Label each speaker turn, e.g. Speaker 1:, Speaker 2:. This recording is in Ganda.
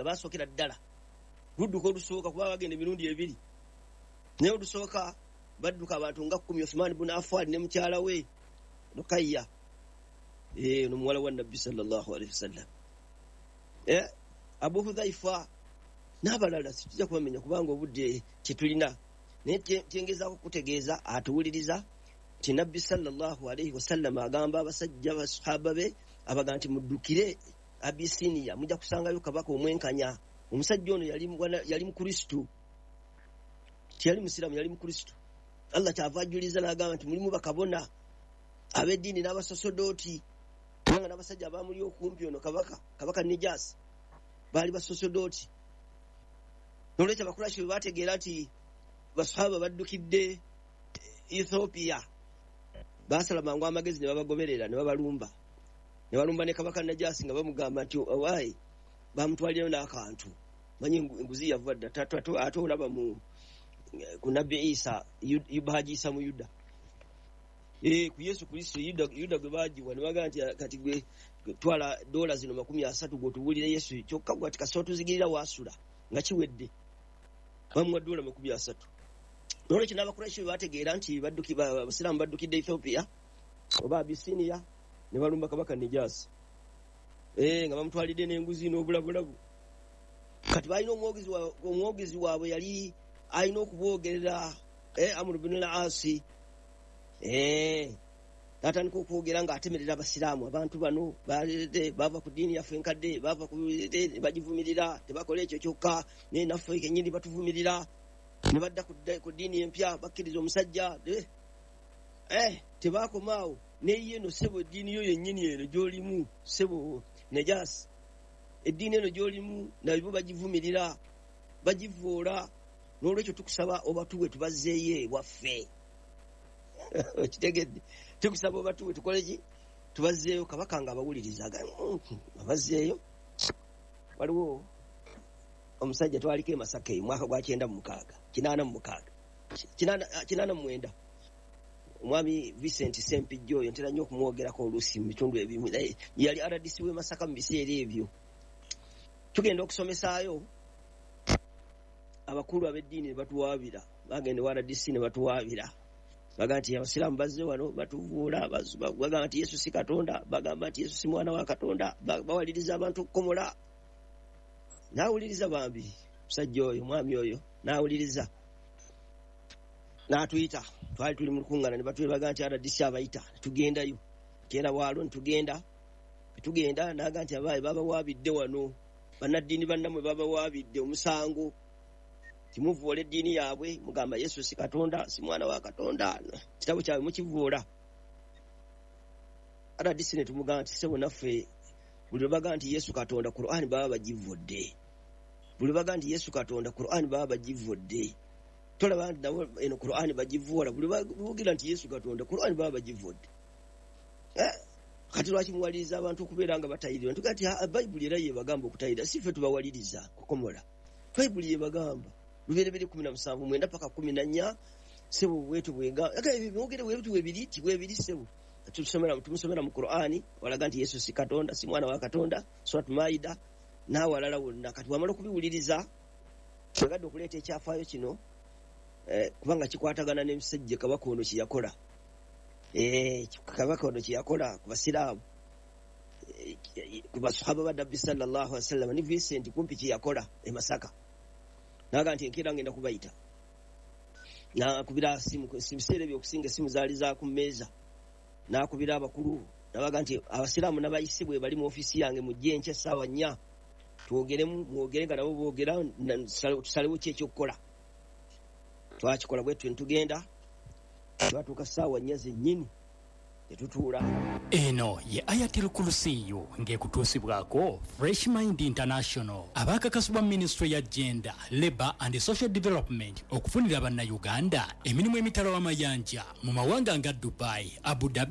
Speaker 1: Abasookera ddala ludduka olusooka, kuba bagenda emirundi ebiri, naye olusooka badduka abantu nga 10, Uthman ibn Affan ne mukyala we Rukayya, nomuwala wa Nabbi sallallahu alaihi wasallam, Abu Hudhaifa n'abalala. Situjja kubamenya kubanga obudde tetulina, naye kyengezaako kutegeeza atuwuliriza nti Nabbi sallallahu alaihi wasallam agamba abasajja basahaba be abaga nti muddukire Abisinia, mujja kusangayo kabaka omwenkanya. Omusajja ono yali mukristu, teyali musiraamu, yali mukristu. Allah kyava ajuliza n'agamba nti mulimu bakabona ab'eddiini n'abasosodooti, kubanga n'abasajja abamuli okumpi ono kabaka Nijasi baali basosodooti. Nolwekyo Abakurashi bwe bategeera nti basahaba baddukidde Ethiopia, basala mangu amagezi ne babagoberera ne babalumba, ne balumba ne kabaka Najasi nga bamugamba nti owaayi, bamutwalirayo n'akantu, manyi enguzi yava dda, ate olaba ku Nabbi Isa, bagiisa mu Yuda, ku Yesu Kristo, Yuda gwe bagiwa, ne bagamba nti kati gwe twala dola zino 30 gw'otubuulire Yesu, kyokka gwe ati kasita otuzigirira waasula nga kiwedde. Bamuwa dola 30. Nolwekyo n'Abakurashi bwe bategeera nti Abasiraamu baddukidde Ethiopia oba Abisinia, ne balumba kabaka Nijasi, nga bamutwalidde n'enguzi n'obulabulabu. Kati balina omwogezi waabwe yali alina okuboogerera, Amr ibn al-As, n'atandika okwogera ng'atemerera Abasiraamu. Abantu bano bava ku ddiini yaffe enkadde, bava ku bagivumirira, tebakola ekyo kyokka, naye naffe kennyini batuvumirira, ne badda ku ddiini empya, bakkiriza omusajja. Tebaakoma awo, naye eno ssebo eddiini yo yennyini eno gy'olimu, ssebo Najasi, eddiini eno gy'olimu nabo bagivumirira, bagivoola. N'olwekyo tukusaba obatuwe tubazzeeyo ewaffe. Okitegedde? Tukusaba obatuwe tukole ki? Tubazzeeyo. Kabaka nga abawuliriza, abazzeeyo. Waliwo omusajja twaliko e Masaka eyo mwaka gwa 96, 86, 89, omwami Vincent Sempijja oyo ntera nnyo okumwogerako oluusi mu bitundu ebimu, naye yali RDC w'e Masaka mu biseera ebyo. Tugenda okusomesaayo, abakulu ab'eddiini ne batuwaabira, bagenda ewa RDC ne batuwaabira, bagamba nti Abasiraamu bazze wano batuvuula, bagamba nti Yesu si Katonda, bagamba nti Yesu si mwana wa Katonda, bawaliriza abantu okukomola. N'awuliriza bambi musajja oyo, omwami oyo n'awuliriza, n'atuyita. Twali tuli mu lukuŋŋaana ne batwebaga nti RDC abayita, ne tugendayo kyera waalo, ne tugenda n'aga nti abaayi babawaabidde wano, bannaddiini bannammwe babawaabidde omusango, timuvoola eddiini yaabwe, mugamba Yesu si Katonda, si mwana wa Katonda, kitabo kyabwe mukivoola. RDC ne tumugamba nti ssebo naffe buli lwe bagamba nti Yesu Katonda, Qur'an baba bagivodde. Buli lwe bagamba nti Yesu Katonda, Qur'an baba bagivodde. Tolaba nti nabo eno Qur'an bagivoola, buli lwe boogera nti Yesu Katonda, Qur'an baba bagivodde. Kati lwaki muwaliriza abantu okubeera nga batayirira? Ntuga nti Bayibuli era yebagamba okutayirira, si ffe tubawaliriza kukomola. Bayibuli yebagamba Lubereberye 17 9 paka 14, ssebo bwetu bwenga mwogere bwetu bwebiri ti bwebiri ssebo. Tumusomera mu Qur'ani walaga nti Yesu si Katonda, si mwana wa Katonda, Surat Maida n'awalala wonna. Kati bw'amala okubiwuliriza, yagadde okuleeta ekyafaayo kino, kubanga kikwatagana n'emisajja kabaka ono kye yakola. Kabaka ono kye yakola ku Basiraamu, ku basahaba ba Nabbi sallallahu alaihi wasallam, ne Vincent kumpi kye yakola e Masaka. Naga nti enkeera ngenda kubayita. Nakubira simu, ebiseera ebyo okusinga essimu zaali za ku mmeeza. Nakubira abakulu, nabaga nti Abasiraamu n'abayise bwe bali mu ofiisi yange, mujje enkya essaawa 4 twogeremu, mwogere nga nabo boogera, tusalewo ki ekyokukola. Twakikola bwe tutyo ne tugenda, twatuuka ssaawa 4 zennyini ne tutuula.
Speaker 2: Eno ye Ayatul Kursiyu ng'ekutuusibwako Fresh Mind International, abaakakasibwa Minisitule ya Gender, Labour and Social Development okufunira Bannayuganda emirimu emitala w'amayanja mu mawanga nga Dubai, Abu Dhabi.